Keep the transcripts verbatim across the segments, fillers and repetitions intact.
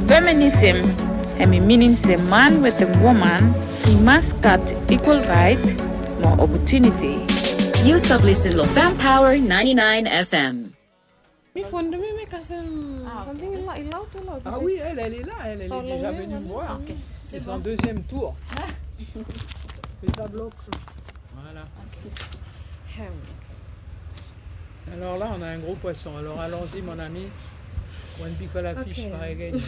Feminism hemi minim se man wetem woman i mas gat ekwal raet mo opotuniti. Yu stap lisin long Fem Power ninety-nine F M. Mi fon de mi, mi kasem samting i laud tu lo. Ah oui, elle, elle est là, elle, elle est déjà venue me voir. C'est son deuxième tour. Fais ça bloc. Voilà. Alors là, on a un gros poisson. Alors allons-y, mon ami. One big la fish, pareil.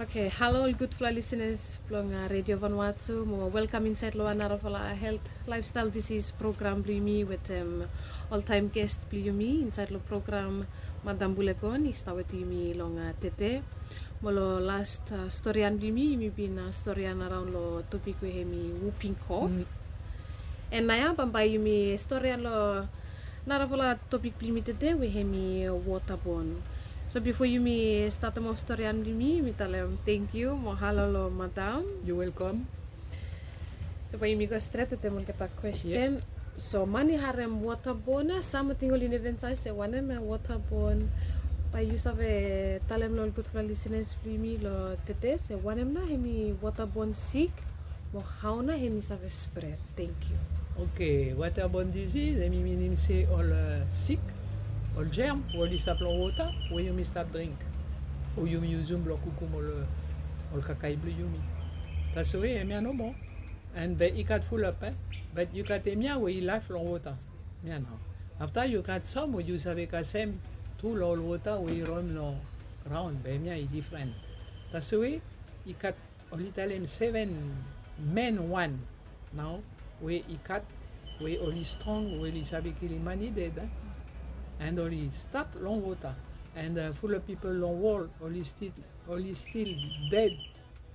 Okay, halo ol gudfala listeners blong Radio Vanuatu, mo welkam insaed long wan narafala health lifestyle disease program blong yumi wetem oltaem guest blong yumi insaed long program, Madam Bulegon i stap wetem yumi long tede. Mo long las storian blong yumi, yumi bin storian araon long topik we hemi whooping cough. And naoia bambae yumi storian long narafala topik blong yumi tede we hemi waterborne. So bifo yumi statem of storian blong yumi, yumi talem tangkiu mo halo long madam. You're welcome. So bae yumi go stret wetem olgeta kwesten. So man i harem waterborne, sam ating oli never save se wanem na waterborne. Bae yu save talem long ol gudfala listeners blong yumi long tede se wanem na hemi waterborne sik, mo hao na hemi save spread. Tangkiu. Okay, waterborne disease hemi minim se ol sik, ol germ we oli stap long wota we yumi stap dring, o yumi yusum blong kukum ol, ol kakae blong yumi. Taswe hemia nomo. And be i gat fulap, eh? But yu gat hemia we i laef long wota. Hemia nao. Afta yu gat sam we yu save kasem tru long ol wota we i roem long graon, be hemia i difren. Taswe i gat, oli talem seven main wan nao we i gat, we oli strong, we oli save kilim man i ded, eh? And oli stap long wota. And fulap pipol long wol oli stil, oli stil ded.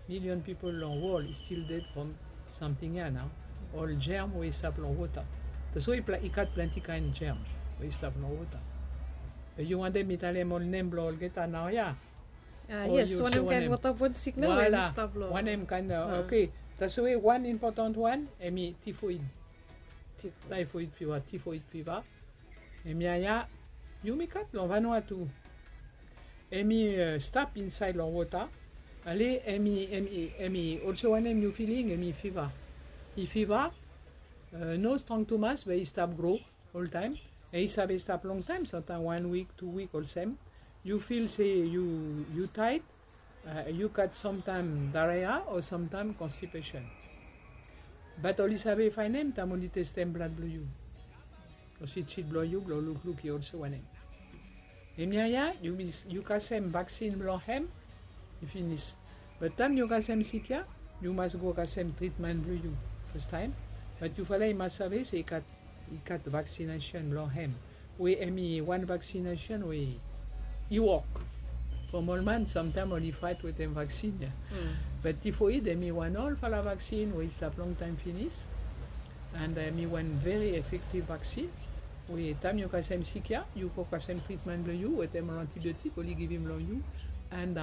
Milion pipol long wol i stil ded from samting ya nao. Ol germ we i stap long wota. Taswe i gat plante kaen germ we i stap long wota. Be yu wantem mi talem ol nem blong olgeta naoia? Yes, wanem kaen waterborne sik nao we i stap long. Wanem kaen, okay. Taswe wan impotan wan hemi typhoid. Typhoid fever, typhoid fever. Hemia ya yumi gat long Vanuatu. Hemi stap insaed long wota. Ale hemi, hemi, hemi olsem wanem yu filing, hemi fiva. I fiva, no strong tumas, be i stap gro oltaem. I save stap longtaem, samtaem wan wik, tu wik olsem. Yu fil se yu, yu taed, yu gat samtaem diarrhea o samtaem constipation. But oli save faenem taem oli testem blad blong yu. Long sitsit blong yu blong lukluk i olsem wanem. Hemia ya yu kasem vaksin blong hem, i finis. But taem yu kasem sik ya, yu mas go kasem tritmen blong yu fastaem. But yufala i mas save se i gat, i gat vaksinesen blong hem. We hemi wan vaksinesen we i wok. From ol man samtaem oli faet wetem vaksin ya. But typhoid hemi wan olfala vaksin we i stap longtaem finis. And hemi wan very effective vaksin. We taem yu kasem sik ya, yu go kasem tritmen blong yu wetem ol antibiotik oli givim long yu. And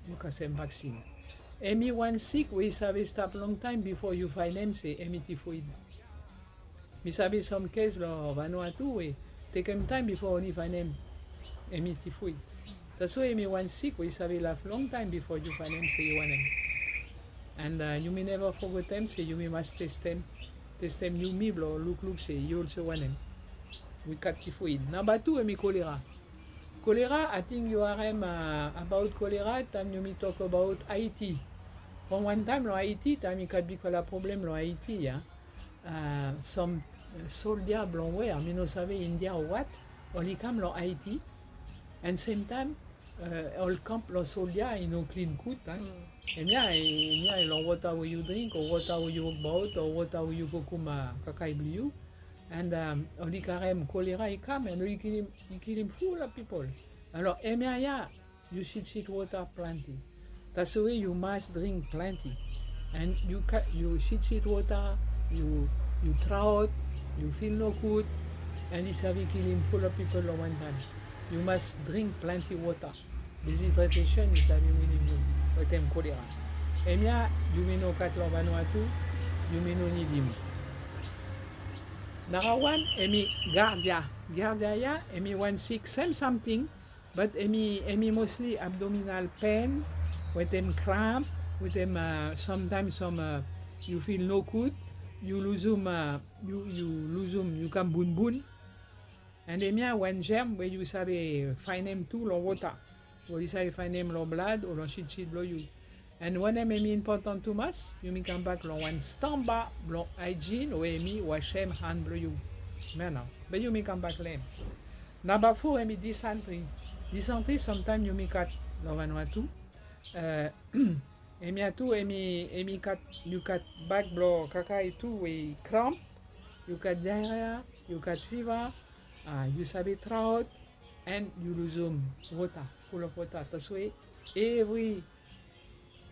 yu kasem vaksin. Hemi wan sik we i save stap longtaem bifo yu faenem se hemi typhoid. Mi save sam kes long Vanuatu we tekem taem bifo oli faenem hemi typhoid. Taswe hemi wan sik we i save laef longtaem bifo yu faenem se yu wanem. And yumi neva fogetem se yumi mas testem, testem yumi blong lukluk se yu olsem wanem. Wi gat typhoid. Namba tu hemi kolera. Kolera, ating yu harem abaot kolera taem yumi tok abaot Haiti. From wan taem long Haiti, taem i gat bigfala problem long Haiti ya. Sam soldia blong wea, mi no save India o wat, oli kam long Haiti. And semtaem ol kamp blong soldia i no klin gud, a. Hemia, hemia long wota we yu dring o wota we yu wokbaot o wota we yu kukum kakae blong yu. And oli karem kolera i kam and oli kilim, i kilim fulap pipol. Alor hemia ya yu sitsit wota plante. Taswe yu mas dring plante. And yu sitsit wota, yu, yu traot, yu fil nogud, and i save kilim fulap pipol long wan taem. Yu mas dring plante wota. Dehydration i save winim yu wetem kolera. Hemia yumi no gat long Vanuatu, yumi no nidim. Nara wan hemi giardia. Giardia ya hemi wan sik, sem samting. But hemi, hemi mostly abdominal pain, wetem cramp, wetem, uh, sometimes some, uh, yu feel nogud, yu luzum, uh, yu, yu luzum, yu kam bunbun. And hemia wan germ we yu save faenem tu long wota. Oli save faenem long blad o long sitsit blong yu. And wanem hemi impotan tumas, yumi kambak long wan stamba blong hygiene we hemi wasem han blong yu. Hemia nao. Be yumi kambak long hem. Namba fo hemi dysentery. Dysentery sometimes yumi gat long Vanuatu. Eh, hemia tu hemi, hemi gat, yu gat bag blong kakae tu we i cramp, yu gat diarrhea, yu gat fever, ah, yu save traot, and yu luzum wota, full of wota. That's why evri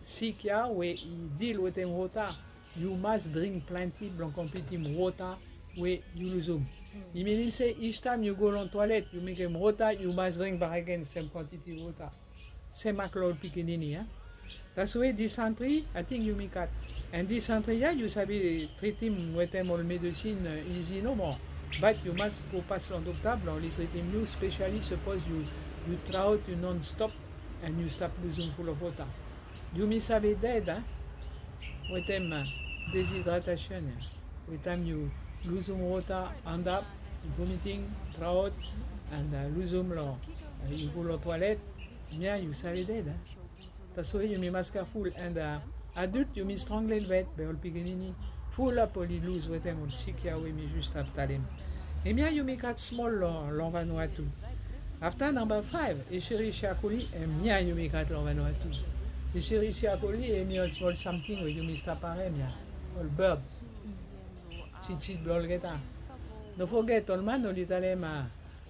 sik ya we i deal wetem wota, yu mas dring plante blong konplitim wota we yu luzum. I minim se each time yu go long toilet, yu mekem wota, yu mas dring bakegen sem kwantiti wota. Sem mak long ol pikinini, a. That's why dysentery, ating yumi gat. And dysentery ya, yu save tritim wetem ol medisin, uh, isi nomo. But yu mas go pas long dokta blong oli tritim yu, specially sapos yu, yu traot, yu non-stop, and yu stap luzum full of wota. Yumi save ded, a, wetem, uh, dehydration, a. Wetem yu luzum wota, end up vomiting, traot, and, uh, luzum long, uh, yu go long toilet, hemia yu save ded, a. That's why yumi mas careful, and, uh, adult yumi strong lelebet, be ol pikinini full up oli luz wetem ol sik ya we mi just stap talem. Hemia yumi gat smol long, long Vanuatu. Afta namba faef, Escherichia coli, hemia yumi gat long Vanuatu. Escherichia coli, hemi ol smol samting we yumi stap harem ya. Ol bird. Sitsit blong olgeta. No foget, ol man oli talem, a,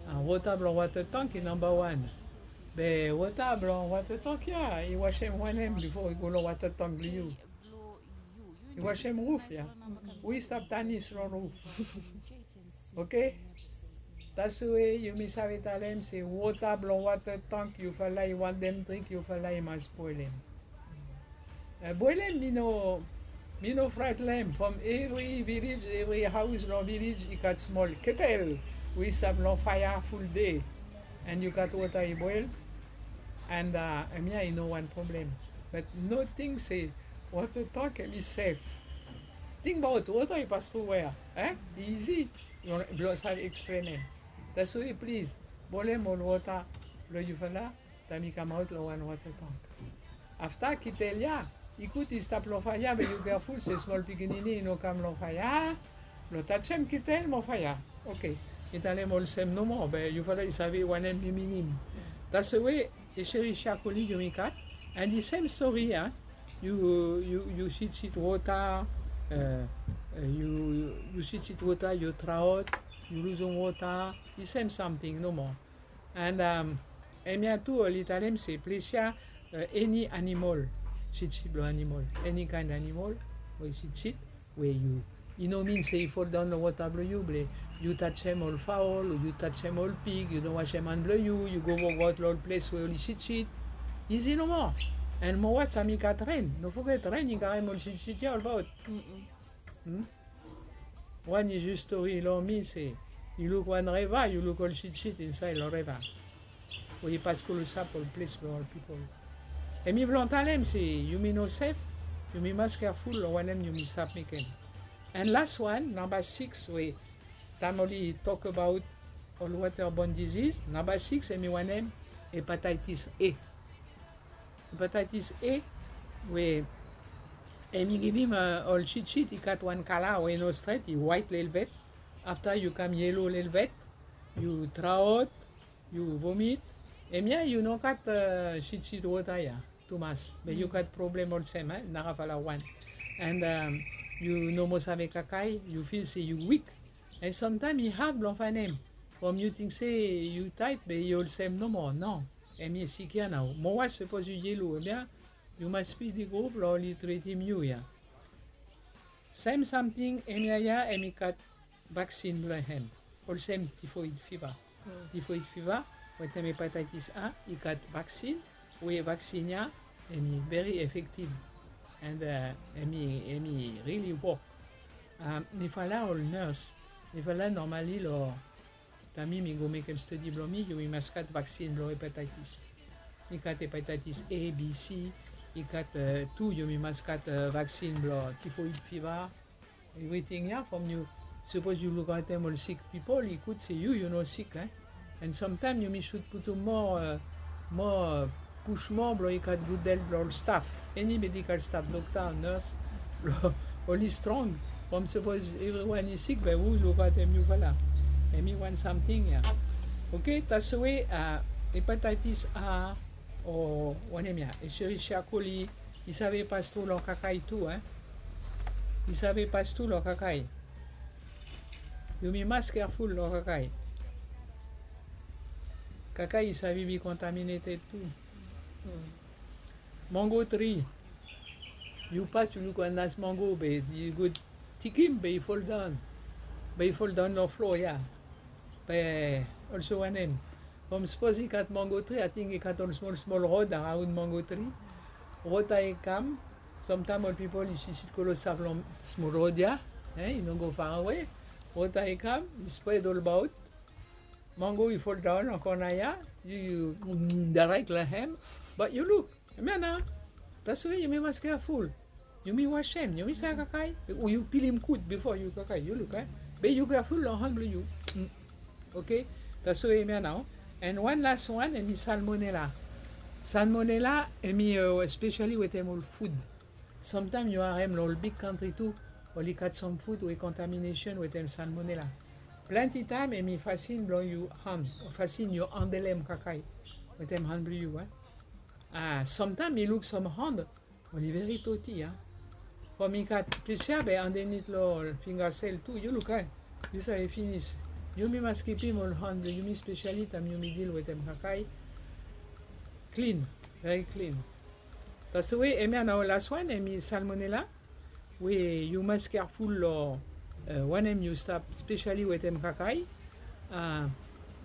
a, wota blong wata tank i namba wan. Be wota blong wata tank ya, i wasem wanem bifo i go long wata tank blong yu? I wasem ruf ya. Wi stap tanis long ruf. Oke? That's why yumi save talem se wota blong wata tank, yufala i wantem dring, yufala i mas boelem. Eh, boelem, mi no, mi no fraet long hem. From evri vilej, evri haos long vilej i gat smol ketel we i stap long faea full dei. And yu gat wota i boel. And, uh, hemia i no wan problem. But no ting se wata tank hemi sef. Tingbaot, wota i pas tru wea, eh? I isi blong save eksplenem. That's why, plis, boelem ol wota blong yufala taem i kamaot long wan wata tank. Afta ketel ya, i gud i stap long faea, be yu careful se smol pikinini i no kam long faea blong tajem ketel mo faea. Oke. Mi talem olsem nomo, be yufala i save wanem mi minim. That's the way Escherichia coli yumi gat. And the same story, a. Yu, yu, yu sitsit wota, eh, eh, yu, yu sitsit wota, yu traot, yu luzum wota, the same samting nomo. And, um, hemia tu oli talem se ples ya, uh, any animal, sitsit blong animal, any kind animal we i sitsit, we yu, i no min se i foldaon long wota blong yu, be yu tajem ol faol, yu tajem ol pig, yu no wasem han blong yu, yu go wokaot long ol ples we oli sitsit. Isi nomo. And mo was taem i gat ren, no foget ren i karem ol sitsit ya olbaot. Wan i just stori long mi se, yu luk wan reva, yu luk ol sitsit insaed long reva we i pas klosap ol ples blong ol pipol. Hemi blong talem se yumi no sef, yumi mas careful long wanem yumi stap mekem. And las wan, namba sikis, we taem oli tok abaot ol waterborne disease, namba sikis hemi wanem? Hepatitis A. Hepatitis A, we hemi givim, uh, ol sitsit i gat wan kala we i no stret, i waet lelebet. Afta yu kam yelo lelebet, yu traot, yu vomit. Hemia yu no gat, uh, sitsit wota ya tumas. Be yu gat problem olsem, eh, narafala wan. And, um, yu no moa save kakae, yu fil se yu wik. And samtaem i had blong faenem. From yu ting se yu taet, be i olsem nomo, no. Hemi sik ya nao. Mo was sapos yu yelo, hemia yu mas pidi grup blong oli tritim yu ya. Sem samting, hemia ya hemi gat vaksin blong hem. Olsem tifoid fiva. Tifoid fiva wetem hepatitis A i gat vaksin, we vaksin ya hemi very effective. And, uh, hemi, hemi really wok. Um, mifala ol nurse, mifala normally long Taem mi mi go mekem stadi blong mi, yumi mas gat vaksin blong hepatitis. Mi gat hepatitis A, B, C. I gat tu yumi mas gat vaksin blong tifoid fiva. Evriting ya from yu, sapos yu lukaotem ol sik pipol, i gud se yu yu no sik. An samtaem yumi sud putum moa moa pus moa blong i gat gud helt blong ol staf, eni medikal staf, dokta, nes, blong oli strong. From sapos evriwan i sik, be hu i lukaotem yufala? Hemi wan samting ya. Oke, taswe hepatitis A o wanem ya, Escherichia coli, i save pas tru long kakae tu. I save pas tru long kakae. Yumi mas careful long kakae. Kakae i save be contaminated tu. Mango tri. Yu pas yu luk wan nas mango be yu go tikim be i foldaon. Be i foldaon long floa ya. Be olso wanem, from sapos i gat mango tri, ating i gat ol smol smol rod araon mango tri. Wota i kam. Samtaem ol pipol i sisit klosap long smol rod ya. I no go farawe. Wota i kam, i spred olbaot. Mango i foldaon long kona ya. Yu yu direct long hem. Bat yu luk, hemia nao. Taswe yumi mas careful. Yumi wasem, yumi save kakae. Yu pilim gud bifo yu kakae, yu luk. Be yu careful long han blong yu. Oke. Taswe hemia nao. An wan las wan hemi salmonela. Salmonela hemi especially wetem ol fud. Samtaem yu harem long ol big kantri tu, oli gat sam fud we contamination wetem salmonela. Plante taem hemi fasin blong yu han, fasin yu handelem kakae wetem han blong yu. Samtaem mi luk sam han oli veri doti. From i gat plis ya be andenit long finga sel tu, yu luk. Yu save finis. Yumi mas kipim ol han blong yumi, spesiali taem yumi dil wetem kakae, klin, veri klin. Taswe hemia nao las wan hemi salmonela, we yu mas careful long wanem yu stap, spesiali wetem kakae.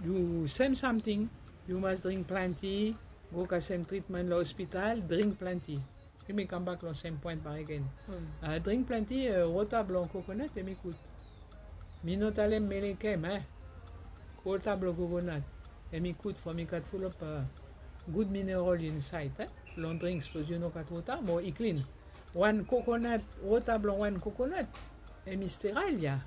Yu sem samting, yu mas dring plante, go kasem tritmen long ospital, dring plante. Yumi kambak long sem poen bakegen. Dring plante wota blong kokonat, hemi gud. Mi no talem melekem. Wota blong kokonat hemi gud from i gat fulap gud mineral insaed. Long dring sapos yu no gat wota mo i klin. Wan kokonat, wota blong wan kokonat hemi sterile ya.